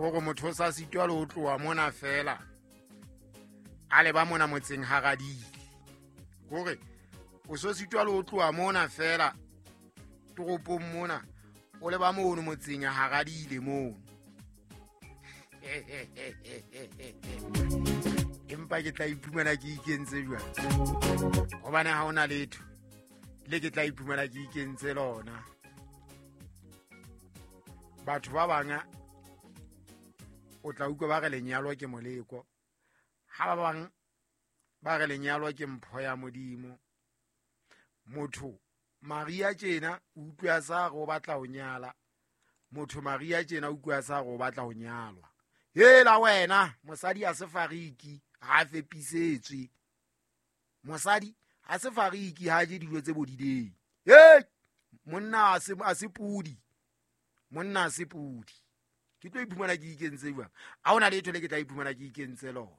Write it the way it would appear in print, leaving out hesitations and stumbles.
Gore motho o sa sitwa le ho tloha mona fela a leba mona motseng haradile. Kore o so sitwa le ho tloha mona fela toropong mona o leba mono motseng haradile mono. Empa ke tla iphumana ke ikentse jwang? Hobane ha hona letho le ke tla iphumana ke ikentse lona. Batho ba bang o tla utlwa ba re lenyalo ke moleko, ha ba bang ba re lenyalo ke mpho ya Modimo. Motho Maria tjena o utlwa sa re o batla ho nyala, motho Maria tjena o utlwa sa re o batla ho nyalwa. Hela wena, mosadi a se fariki, ha a fepisetswe. Mosadi ha se fariki, ha je dijo tse bodileng. Hey, monna a se pudi. Monna a se pudi. Ke tlo iphumana ke ikentse jwang? Ha hona letho le ke tla iphumana ke ikentse lona.